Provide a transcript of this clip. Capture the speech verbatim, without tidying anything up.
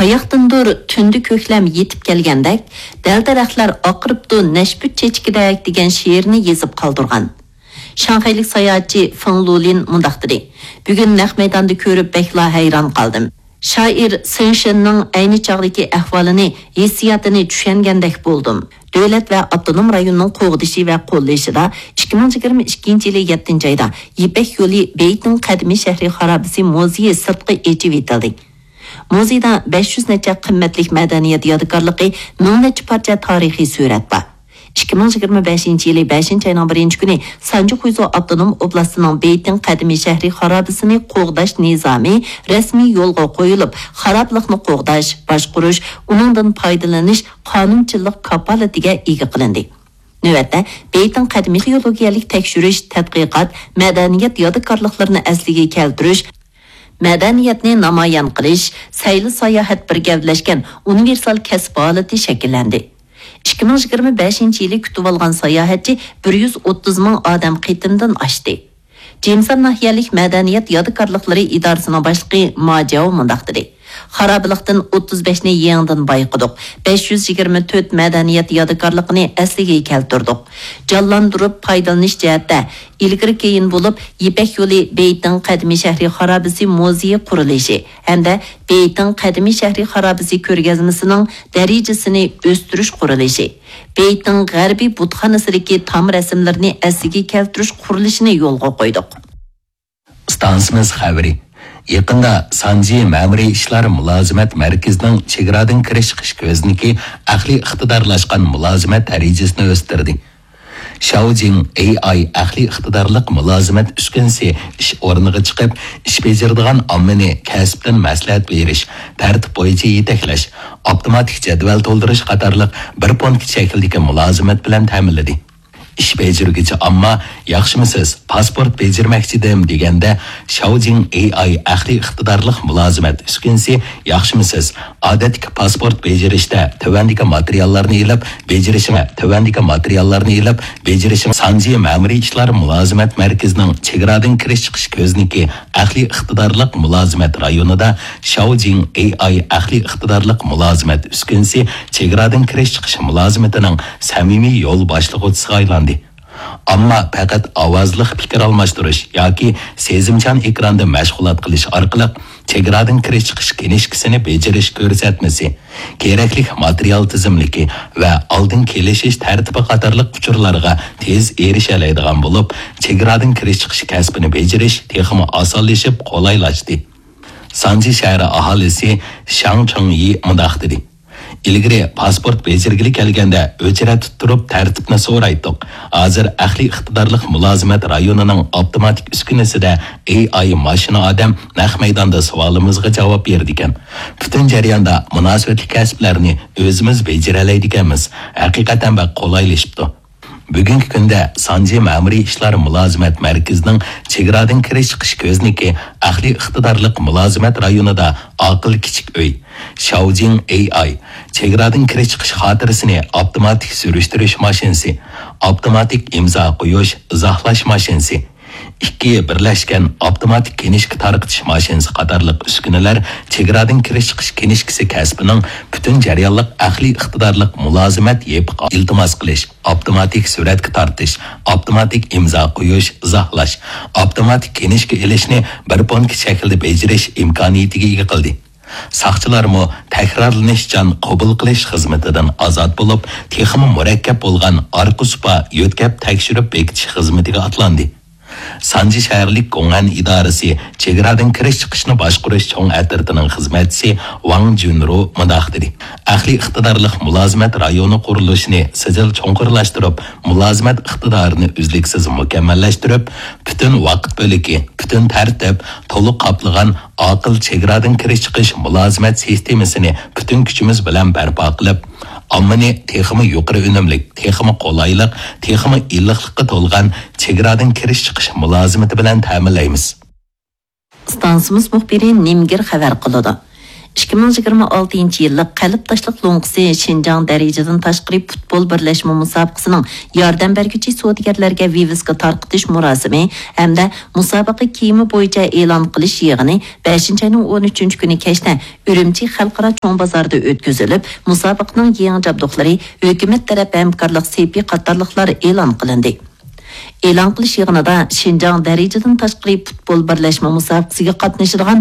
قاياقتىندۇر تۈندە كۆكلەم يېتىپ كەلگەندەك، دەل-دەرەخلەر ئاقىرىپتۇ نەشپۈت چېچىكىدەك دېگەن شېئىرنى يېزىپ قالدۇرغان. شاڭخەيلىك ساياھەتچى فېڭ لۇلىن مۇنداق دېدى: «بۈگۈن نەق مەيداندا كۆرۈپ بەكلا ھەيران قالدىم. شائىر سېڭ شېننىڭ ئەينى چاغدىكى ئەھۋالىنى، ھېسسىياتىنى چۈشەنگەندەك بولدۇم.» دۆلەت ۋە ئاپتونوم رايوننىڭ قوغدىشى ۋە قوللىشىدا ئىككى مىڭ يىگىرمە ئىككىنچى يىلى يەتتىنچى ئايدا يىپەك يولى بېيتىڭ قەدىمىي شەھىرى خارابىسى مۇزېيى سىرتقا ئېچىۋېتىلدى. مۇزېيدا بەش يۈز نەچچە قىممەتلىك مەدەنىيەت يادىكارلىقى، مىڭ نەچچە پارچە تارىخىي سۈرەت بار. ئىككى مىڭ يىگىرمە بەشىنچى يىلى بەشىنچى ئاينىڭ بىرىنچى كۈنى سانجى خۇيزۇ ئاپتونوم ئوبلاستىنىڭ بېيتىڭ قەدىمىي شەھىرى خارابىسىنى قوغداش نىزامى رەسمىي يولغا قويۇلۇپ، خارابىلىقنى قوغداش، باشقۇرۇش، ئۇنىڭدىن پايدىلىنىش قانۇنچىلىق كاپالىتىگە ئىگە قىلىندى. نۆۋەتتە، بېيتىڭ قەدىمىي ئارخېئولوگىيەلىك تەكشۈرۈش، تەتقىقات، مەدەنىيەت يادىكارلىقلىرىنى ئەسلىگە كەلتۈرۈش، مەدەنىيەتنى نامايان قىلىش، سەيلە ساياھەت بىر گەۋدىلەشكەن ئۇنىۋېرسال كەسىپ ھالىتى شەكىللەندى. ئىككى مىڭ يىگىرمە بەشىنچى يىلى كۈتۈۋالغان ساياھەتچى بىر يۈز ئوتتۇز مىڭ ئادەم قېتىمدىن ئاشتى. جېمسان ناھىيەلىك مەدەنىيەت يادىكارلىقلىرى ئىدارىسىنىڭ باشلىقى ما جياۋ مۇنداق دېدى: «خارابىلىقتىن ئوتتۇز بەشنى يېڭىدىن بايقىدۇق، بەش يۈز يىگىرمە تۆت مەدەنىيەت يادىكارلىقىنى ئەسلىگە كەلتۈردۇق. جانلاندۇرۇپ پايدىلىنىش جەھەتتە ئىلگىرى كېيىن بولۇپ، يىپەك يولى بېيتىڭ قەدىمىي شەھىرى خارابىسى مۇزېيى قۇرۇلۇشى ھەمدە بېيتىڭ قەدىمىي شەھىرى خارابىسى كۆرگەزمىسىنىڭ دەرىجىسىنى ئۆستۈرۈش قۇرۇلۇشى، بېيتىڭ غەربىي بۇتخانىسىدىكى تام رەسىملىرىنى ئەسلىگە كەلتۈرۈش قۇرۇلۇشىنى يولغا قويدۇق.» ئىستانسىمىز خەۋىرى. يېقىندا سانجى مەمۇرىي ئىشلار مۇلازىمەت مەركىزىنىڭ چېگرادىن كىرىش چىقىش كۆزنىكى ئەقلىي ئىقتىدارلاشقان مۇلازىمەت دەرىجىسىنى ئۆستۈردى. شاۋجىڭ ئېي ئاي ئەقلىي ئىقتىدارلىق مۇلازىمەت ئۈسكۈنىسى ئىش ئورنىغا چىقىپ، ئىش بېجىرىدىغان ئاممىنى كەسىپتىن مەسلىھەت بېرىش، تەرتىپ بويىچە يېتەكلەش، ئاپتوماتىك جەدۋەل تولدۇرۇش قاتارلىق بىر پونكىت شەكلىدىكى مۇلازىمەت بىلەن تەمىنلىدى. ئىش بېجىرگۈچى ئامما، «ياخشىمۇسىز، پاسپورت بېجىرمەكچىدىم» دېگەندە، شاۋجىڭ ئېي ئاي ئەقلىي ئىقتىدارلىق مۇلازىمەت ئۈسكۈنىسى، «ياخشىمۇسىز، ئادەتتىكى پاسپورت بېجىرىشتە تۆۋەندىكى ماتېرىياللارنى ئېلىپ بېجىرىشىڭ، تۆۋەندىكى ماتېرىياللارنى ئېلىپ بېجىرىشىڭ.» سانجى مەمۇرىي ئىشلار مۇلازىمەت مەركىزىنىڭ چېگرادىن كىرىش چىقىش كۆزنىكى ئەقلىي ئىقتىدارلىق مۇلازىمەت رايونىدا شاۋجىڭ ئېي ئاي ئەقلىي ئىقتىدارلىق مۇلازىمەت ئۈسكۈنىسى چېگرادىن كىرىش چىقىش مۇلازىمىتىنىڭ سەمىمىي يول باشلىغۇچىسىغا ئايلاندى. ئامما پەقەت ئاۋازلىق پىكىر ئالماشتۇرۇش ياكى سېزىمچان ئېكراندا مەشغۇلات قىلىش ئارقىلىق چېگرادىن كىرىش چىقىش كىنىشكىسىنى بېجىرىش كۆرسەتمىسى، كېرەكلىك ماتېرىيال تىزىملىكى ۋە ئالدىن كېلىشىش تەرتىپى قاتارلىق ئۇچۇرلارغا تېز ئېرىشەلەيدىغان بولۇپ، چېگرادىن كىرىش چىقىش كەسپىنى بېجىرىش تېخىمۇ ئاسانلىشىپ، قولايلاشتى. سانجى شەھىرى ئاھالىسى شاڭ چېڭيى مۇنداق دېدى: «ئىلگىرى پاسپورت بېجىرگىلى كەلگەندە ئۆچرەتتە تۇرۇپ تەرتىپنى سورايتتۇق. ھازىر ئەقلىي ئىقتىدارلىق مۇلازىمەت رايونىنىڭ ئاپتوماتىك ئۈسكۈنىسىدە ئېي ئاي ماشىنا ئادەم نەق مەيداندا سوئالىمىزغا جاۋاب بېرىدىكەن. پۈتۈن جەرياندا مۇناسىۋەتلىك كەسىپلەرنى ئۆزىمىز بېجىرەلەيدىكەنمىز. ھەقىقەتەن بەك قولايلىشىپتۇ.» بۈگۈنكى كۈندە سانجى مەمۇرىي ئىشلار مۇلازىمەت مەركىزىنىڭ چېگرادىن كىرىش چىقىش كۆزنىكى ئەقلىي ئىقتىدارلىق مۇلازىمەت رايونىدا ئاقىل كىچىك ئۆي، شاۋجىڭ ئېي ئاي، چېگرادىن كىرىش چىقىش خاتىرىسىنى ئاپتوماتىك سۈرۈشتۈرۈش ماشىنىسى، ئاپتوماتىك ئىمزا قويۇش، ئىزاھلاش ماشىنىسى، ئىككى بىرلەشكەن ئاپتوماتىك كىنىشكا تارقىتىش ماشىنىسى قاتارلىق ئۈسكۈنىلەر چېگرادىن كىرىش چىقىش كىنىشكىسى كەسپىنىڭ پۈتۈن جەريانلىق ئەقلىي ئىقتىدارلىق مۇلازىمەت يېپىقى ئىلتىماس قىلىش، ئاپتوماتىك سۈرەتكە تارتىش، ئاپتوماتىك ئىمزا قويۇش، ئىزاھلاش، ئاپتوماتىك كىنىشكا ئېلىشنى بىر پونكىت شەكلىدە بېجىرىش ئىمكانىيىتىگە ئىگە قىلدى. ساقچىلارمۇ تەكرارلىنىشچان قوبۇل قىلىش خىزمىتىدىن ئازاد بولۇپ، تېخىمۇ مۇرەككەپ بولغان ئارقا سۇپا يۆتكەپ تەكشۈرۈپ بېكىتىش خىزمىتىگە ئاتلاندى. سانجى شەھەرلىك گوڭئەن ئىدارىسى چېگرادىن كىرىش چىقىشنى باشقۇرۇش چوڭ ئەترىتىنىڭ خىزمەتچىسى ۋاڭ جۈنرۇ مۇنداق دېدى: «ئەقلىي ئىقتىدارلىق مۇلازىمەت رايونى قۇرۇلۇشىنى سىجىل چوڭقۇرلاشتۇرۇپ، مۇلازىمەت ئىقتىدارىنى ئۈزلۈكسىز مۇكەممەللەشتۈرۈپ، پۈتۈن ۋاقىت بۆلىكى، پۈتۈن تەرتىپ، تولۇق قاپلىغان ئاقىل چېگرادىن كىرىش چىقىش مۇلازىمەت سىستېمىسىنى پۈتۈن كۈچىمىز بىلەن بەرپا قىلىپ، ئاممىنى تېخىمۇ يۇقىرى ئۈنۈملۈك، تېخىمۇ قولايلىق، تېخىمۇ ئىللىقلىققا تولغان چېگرادىن كىرىش چىقىش مۇلازىمىتى بىلەن تەمىنلەيمىز.» ئىستانسىمىز مۇخبىرى نىمگىر خەۋەر قىلىدۇ. ئىككى مىڭ يىگىرمە ئالتىنچى يىللىق قەلب تاشلىق لوڭقىسى شىنجاڭ دەرىجىدىن تاشقىرى پۇتبول بىرلەشمە مۇسابىقىسىنىڭ ياردەم بەرگۈچى سودىگەرلەرگە ۋىۋىسكا تارقىتىش مۇراسىمى ھەمدە مۇسابىقە كىيىمى بويىچە ئېلان قىلىش يىغىنى بەشىنچى ئاينىڭ ئون ئۈچىنچى كۈنى كەچتە ئۈرۈمچى خەلقئارا چوڭ بازاردا ئۆتكۈزۈلۈپ، مۇسابىقىنىڭ يېڭى جابدۇقلىرى ھۆكۈمەت تەرەپ ھەمكارلىق سېپى قاتارلىقلار ئېلان قىلىندى. ئېلان قىلىش يىغىنىدا شىنجاڭ دەرىجىدىن تاشقىرى پۇتبول بىرلەشمە مۇسابىقىسىگە قاتنىشىدىغان